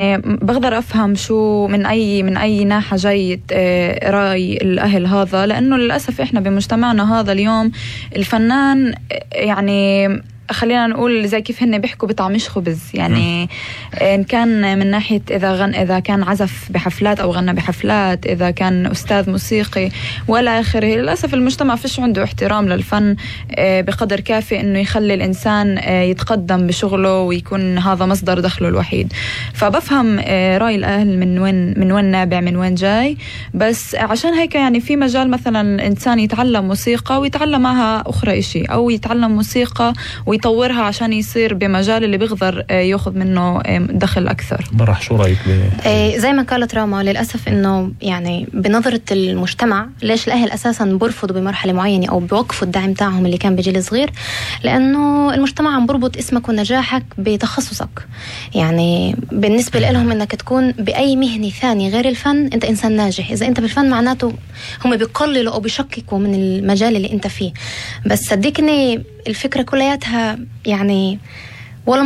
بقدر أفهم شو من أي ناحية جاي رأي الأهل هذا، لأنه للأسف إحنا بمجتمعنا هذا اليوم الفنان يعني خلينا نقول زي كيف هن بيحكوا بطعمش خبز، يعني إن كان من ناحية إذا كان عزف بحفلات أو غنى بحفلات، إذا كان أستاذ موسيقي ولا آخره. للأسف المجتمع فيش عنده احترام للفن بقدر كافي إنه يخلي الإنسان يتقدم بشغله ويكون هذا مصدر دخله الوحيد. فبفهم رأي الأهل من وين نابع، من وين جاي، بس عشان هيك يعني في مجال مثلا الإنسان يتعلم موسيقى ويتعلم معها أخرى إشي، أو يتعلم موسيقى ويطورها عشان يصير بمجال اللي بيقدر ياخذ منه دخل أكثر. برح شو رأيك زي ما قالت راما، للأسف إنه يعني بنظرة المجتمع ليش الأهل أساسا برفضوا بمرحلة معينة أو بوقفوا الدعم تاعهم اللي كان بجيل صغير؟ لأنه المجتمع عم بربط اسمك ونجاحك بتخصصك. يعني بالنسبة لهم إنك تكون بأي مهنة ثانية غير الفن أنت إنسان ناجح. إذا أنت بالفن معناته هم بيقللوا أو بيشككوا من المجال اللي أنت فيه. بس صدقني الفكرة كلياتها يعني ولا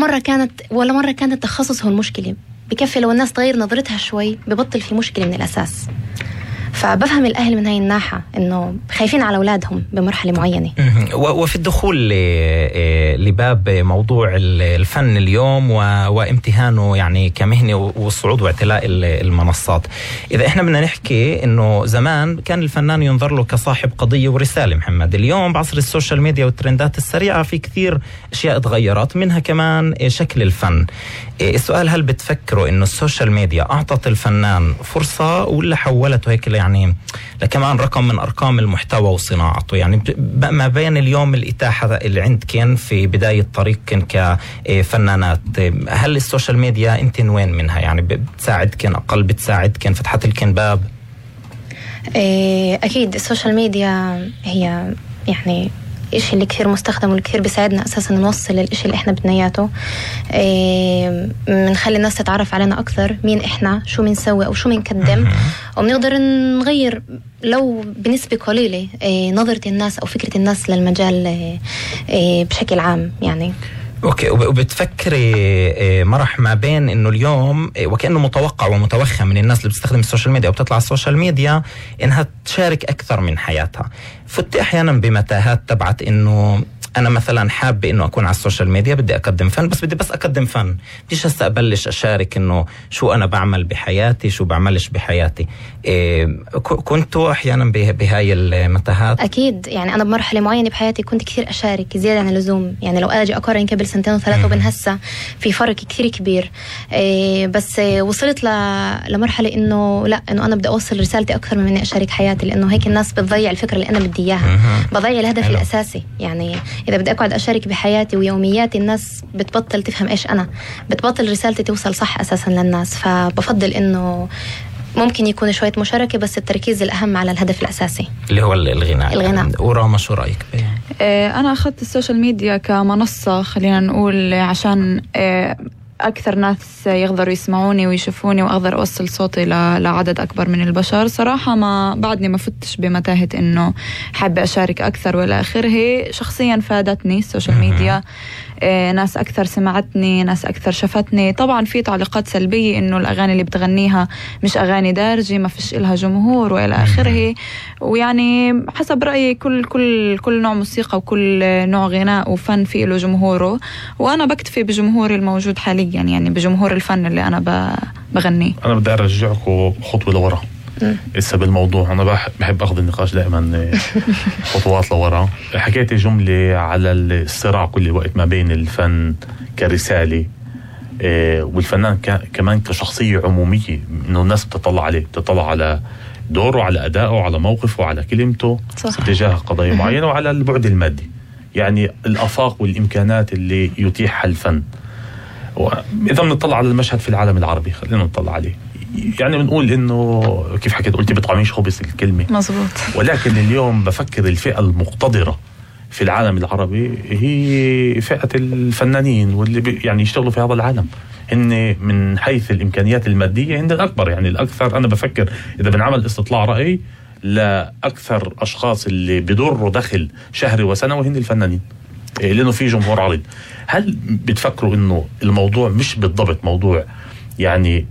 مرة كانت تخصص هو المشكلة. بكفي لو الناس تغير نظرتها شوي ببطل في مشكلة من الأساس. فبفهم الأهل من هاي الناحية إنه خايفين على أولادهم بمرحلة معينة. وفي الدخول لباب موضوع الفن اليوم وامتهانه يعني كمهنة والصعود واعتلاء المنصات، إذا إحنا بدنا نحكي إنه زمان كان الفنان ينظر له كصاحب قضية ورسالة محمد، اليوم بعصر السوشيال ميديا والترندات السريعة في كثير أشياء اتغيرت، منها كمان شكل الفن. السؤال، هل بتفكروا إنه السوشيال ميديا أعطت الفنان فرصة ولا حولته هيك يعني لكمان رقم من أرقام المحتوى وصناعته؟ يعني ما بين اليوم الإتاحة اللي عندكن في بداية طريقكن كفنانات، هل السوشيال ميديا انتن وين منها؟ يعني بتساعدكن أقل، بتساعدكن، فتحت لكن باب؟ أكيد السوشيال ميديا هي يعني إشي اللي كثير مستخدم والكثير بيساعدنا أساساً نوصل للإشي اللي إحنا بدنا إياته. منخلي الناس تتعرف علينا أكثر، مين إحنا، شو منسوي أو شو منقدم، وبنقدر نغير لو بنسبة قليلة نظرة الناس أو فكرة الناس للمجال بشكل عام يعني. اوكي، وبتفكري مرح ما بين انه اليوم وكأنه متوقع ومتوخم من الناس اللي بتستخدم السوشيال ميديا وبتطلع على السوشيال ميديا انها تشارك اكثر من حياتها، فتي احيانا بمتاهات تبعت انه انا مثلا حابه انه اكون على السوشيال ميديا، بدي اقدم فن، بس بدي اقدم فن، بديش هسه ابلش اشارك انه شو انا بعمل بحياتي، شو بعملش بحياتي. كنتوا احيانا بهاي المتاهات؟ اكيد، يعني انا بمرحله معينه بحياتي كنت كثير اشارك زياده عن اللزوم. يعني لو اجي اقارن قبل 2 و3 وبين هسه في فرق كثير كبير. بس وصلت لمرحله انه لا، انه انا بدي اوصل رسالتي اكثر من اني اشارك حياتي، لانه هيك الناس بتضيع الفكره اللي انا بدي اياها، بضيع الهدف الاساسي. يعني إذا بدي أقعد أشارك بحياتي ويومياتي الناس بتبطل تفهم إيش أنا، بتبطل رسالتي توصل صح أساسا للناس. فبفضل إنه ممكن يكون شوية مشاركة، بس التركيز الأهم على الهدف الأساسي اللي هو الغناء. وراما شو رأيك؟ أنا أخذت السوشيال ميديا كمنصة، خلينا نقول، عشان أكثر ناس يقدروا يسمعوني ويشوفوني وأقدر أوصل صوتي لعدد أكبر من البشر. صراحة بعدني ما فتش بمتاهة إنه حابة أشارك أكثر ولا آخره. شخصيا فادتني السوشيال ميديا، ناس أكثر سمعتني، ناس أكثر شفتني. طبعا في تعليقات سلبية إنه الأغاني اللي بتغنيها مش أغاني دارجة، ما فيش إلها جمهور وإلى آخره. ويعني حسب رأيي كل نوع موسيقى وكل نوع غناء وفن فيه له جمهوره، وأنا بكتفي بجمهوري الموجود حاليا، يعني بجمهور الفن اللي أنا بغنيه. أنا بدي أرجعكم خطوة لورا لسه بالموضوع. أنا بحب أخذ النقاش دائما خطوات لورا. حكيت جملة على الصراع كل وقت ما بين الفن كرسالة والفنان كمان كشخصية عمومية، إنه الناس بتطلع عليه، بتطلع على دوره، على أدائه، على موقفه، على كلمته تجاه قضايا معينة، وعلى البعد المادي، يعني الآفاق والإمكانات اللي يتيحها الفن. إذا بنطلع على المشهد في العالم العربي، خلينا نطلع عليه، يعني بنقول إنه كيف حكيت، قلتي بطعميش خبز الكلمة مزبوط. ولكن اليوم بفكر الفئة المقتدرة في العالم العربي هي فئة الفنانين واللي يعني يشتغلوا في هذا العالم. هن من حيث الإمكانيات المادية هن الأكبر، يعني الأكثر. أنا بفكر إذا بنعمل استطلاع رأي لأكثر أشخاص اللي بدوروا دخل شهري وسنوي هن الفنانين، لأنه في جمهور عريض. هل بتفكروا إنه الموضوع مش بالضبط موضوع يعني